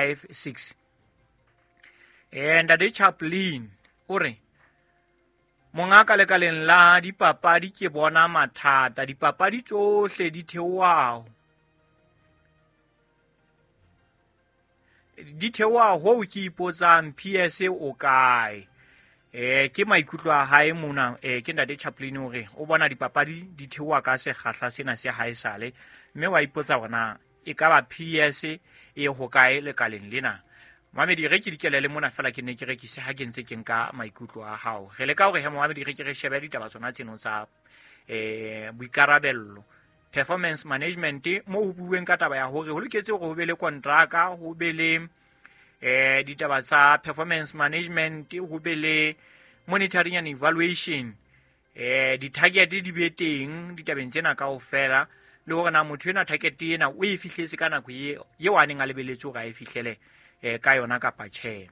56. Ntate Chaplin o re, mongaka, lekaleng la dipapadi ke bona mathata, dipapadi tsohle di theoha, di theoha hoo ke ipotsang PS o kae. Ke maikutlo a hae mona. Ke ntate Chaplin, o re o bona dipapadi di theoha ka sekgahla sena se haesale, mme wa ipotsa hore na e ka ba PS e hokae lekaleng lena. Mamedi, re ke dikelele mona fela, ke ne ke rekise ha ke ntse ke nka maikutlo a hao. Re leka hore he, momamedi, re ke re shebe ditaba tsona tseno tsa boikarabello, performance management, mo ho bueng ka taba ya hore ho loketse hore ho be le kontraka, ho be le ditaba tsa performance management, ho be le monitoring and evaluation, di-target di be teng ditabeng tsena kaofela, le hore na motho ena target ena o e fihletse ka nako eo a neng a lebeletse hore a e fihlele ka yona kapa tjhe.